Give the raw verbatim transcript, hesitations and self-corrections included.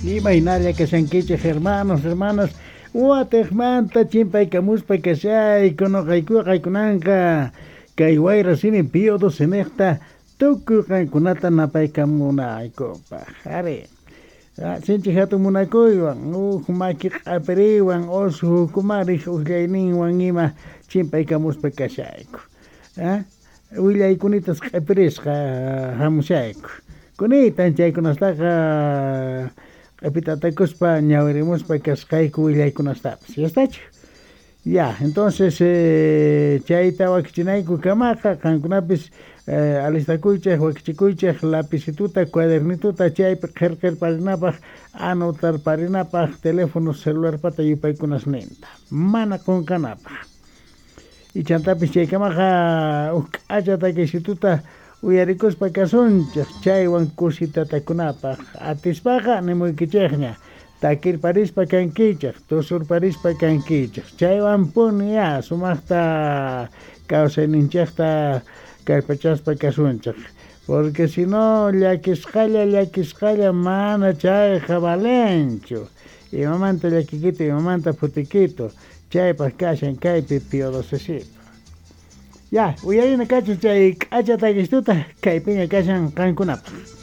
Imaynalla kashankichej hermanos, hermanas, watejmanta chimpaykamuspa kashayku noqaykuqa qaykunanqa kay wayra simi Pío doce tukuy qankunata napaykamunaykupaq. Ari, sinchi hatun munakuywan, uj maki q'apiriwan, osu hukumarej uqllayninwan ima chimpaykamuspa kashayku. Willaykunitas q'ipirisqa hamushayku. Kunitan chaykunastaqa q'ipitatakuspa ñawirimuspa kasqayku willaykunastapis. ¿Ya estachu? Ya, entonces eh, chayta wakichinayku kamaqa qankunapis eh, alistakuychej wakichikuychej lapicituta cuadernituta chaypi qhirqirparinapaq anotarparinapaq teléfono celularpata yupaykunasninta mana qunqanapaq. Y chantapis chaykamaqa uj k'acha takisituta uyarikuspa kasunchej chaywan kusitatakunapaq atispaqa nimuykichejña takirparispa kankichej tusurparispa kankichej chaywanpuni ya sumaqta kawsayninchejta kallpachaspa kasunchej porque si no llakisqalla llakisqalla mana chayqa valenchu imamanta llakikito imamanta phutikito chaypaq kashan kaypi Pío docecito. Ya, uyarina kachun chay k'acha takistuta kaypiña kashan qankunapaq.